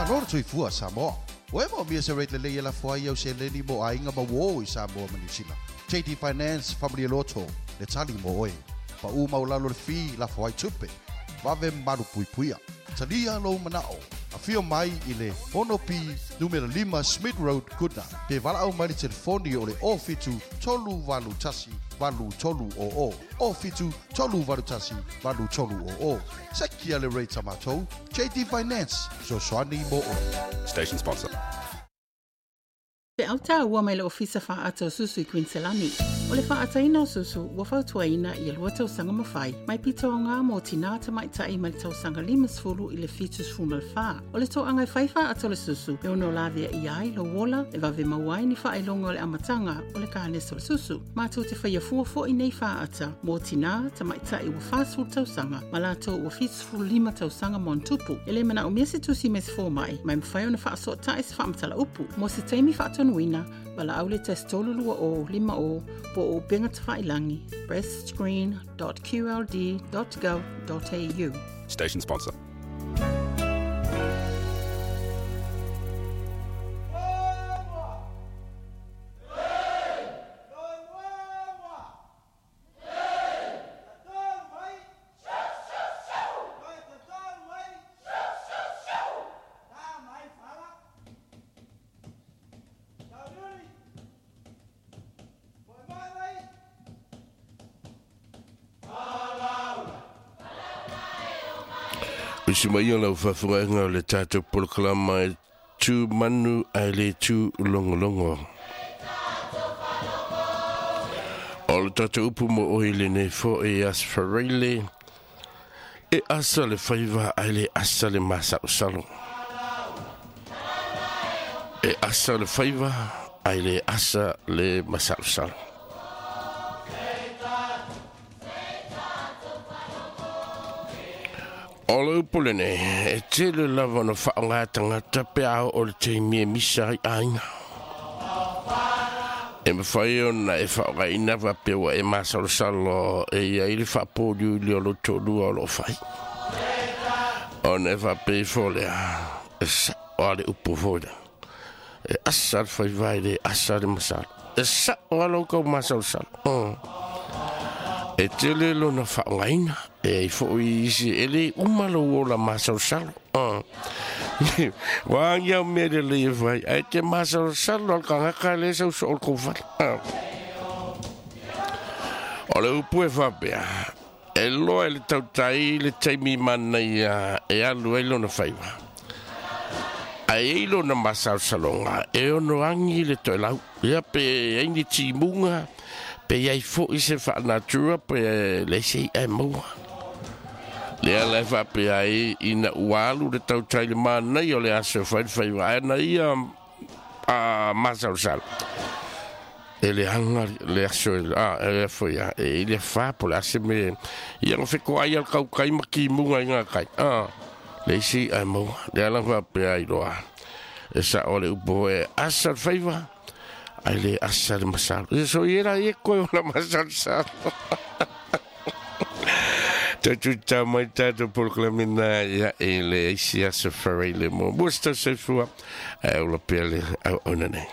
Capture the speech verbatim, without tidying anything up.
Malo le tuifua Samoa. Ua e moomia se rate lelei e lafo ai au seleni mo aiga ma uō i Samoa ma Niu Sila. J D Finance faamalie loto le tali mo oe. Paʻū maualalo le fee lafo ai tupe. Vave malu puipuia. Talia lou manao. Afio mai i le ono P numera lima Smith Road Goodna. Pe valaau mai le telefoni o le o fitu tolu valu tasi valu tolu o o. O fitu tolu valu tasi valu tolu o o. Sekia le rate a matou. J D Finance. Fesoasoani mo oe. Station sponsor. Pe auta ua mai le ofisa whaata o susu i Queenselani. O le whaataina o susu ua fautuaina i lua tausaga mawhai. Mai pito o ngā mō tina tamaitai mai le tausaga lima sefulu i le fitu sefulu ma le whā. O le toanga e whai whaata o le susu e ono lavea i ai lo wola e vave mauai ni whaelonga o le amatanga o le kānesa o le susu. Mātou te whaia fuafo i nei whaata mō tina tamaitai ua whāsefulu tausaga ma lātou ua fitu sefulu lima tausaga mo ntupu. E le mana o mea se tusi me se fōmai mai mwhai ona whaasota e se whaamatala upu. Mō se taimi whaatonuina wala au le tasi tolu lua o lima o po o upenga tawhailangi breast screen dot q l d dot gov dot a u. Station sponsor. Usi mai o lau faafogaiga o le tatou polokalama e tu manu ae le tu logologo. O le tatou upu mo oe lenei foʻi asfareile e asa le faiva ae le asa le masaʻosalo. E asa le faiva ae le asa le masaʻosalo. O le upu lenei, e tele lava ona faaaogā tagata pe a oo le taimi e misa ai aiga. E mafai ona e faaaogaina faapea ua e masalosalo e iai le faapoliuli o lou toalua o loo fai. Ona e faapea ifo lea, e saʻo a le upu foi lea. E asa le faiva e le asa le masalo. E saʻo a lou kau masalosalo. Mm. E tele lona faaaogaina e ai foʻi isi e lē uma lou ola masalosalo. Ua agi au mea lelei e fai ae te masalosalo a le tagaka lē sau soo le kou fale. O le upu e faapea e loa e le tautai le taimi manaia e alu ai lona faiva. Ae ai lona masalosaloga e ono agi le toelau. Ia pe ai ni timuga pe iai foʻi se faanatura pe le sei ae maua. Lea la e faapea ai ina ua alu le tautai le manaia o le aso e fai le faiva ae na ia a masalosalo. E le aga le aso e a e foi a e i le fa po le ase me ia no feko ai al kaukai ma kimuga i ngā kai. A le isi ae maua. Lea la faapea ai loa. E sa o le upu e asa le faiva ai le asa le masalo. E so i era e koe o la masalosalo. Tatu tā mai tātou polokalamina ia e le isi aso whareile mo. Mo se tau soifua, e ola pea le au ona nei.